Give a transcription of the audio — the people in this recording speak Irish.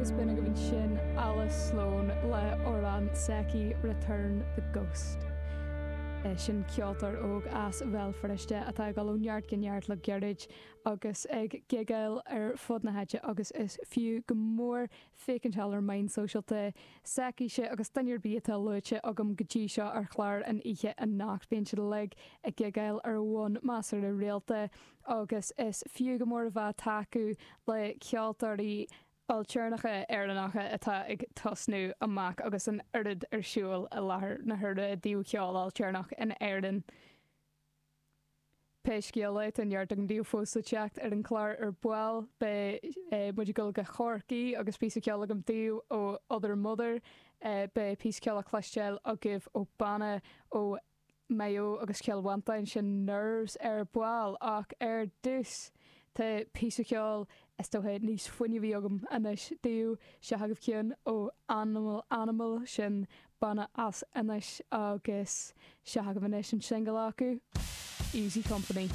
Agus b'in agaibh ansin Alice Sloane le amhrán s'aici Return the Ghost. Sin ceoltóir óg as Bhéal Feirste atá ag dul ó neart go neart le gairid agus ag gigeáil ar fud na háite agus is fiú go mór féachaint ar na meáin sóisialta s'aicise agus duine ar bith atá luaite agam go dtí seo ar chlár an oíche anocht. Bíonn siad uilig ag gigeáil ar bhonn measartha rialta agus is fiú go mór a bheith ag tacú le ceoltóirí ailtéarnacha Éireannacha atá ag tosnú amach agus an oiread ar siúl i láthair na huaire i dtaobh cheol ailtéarnach in Éirinn. Pé scéal é, tá neart agam daoibh fós le teacht ar an chlár ar ball. Beidh muid ag dul go Corcaigh agus píosa ceoil agam daoibh ó Other Mother. Beidh píosa ceoil le cloisteáil agaibh ó banna ó Maigh Eo agus Cill Mhantáin, sin Nerves ar ball. Ach ar dtús, tá píosa ceoil is dócha níos fuinneamhaí agam anois daoibh. Seo agaibh ceann ó Animal Animal, sin banna as Inis agus seo agaibh anois an singil acu, Easy Company.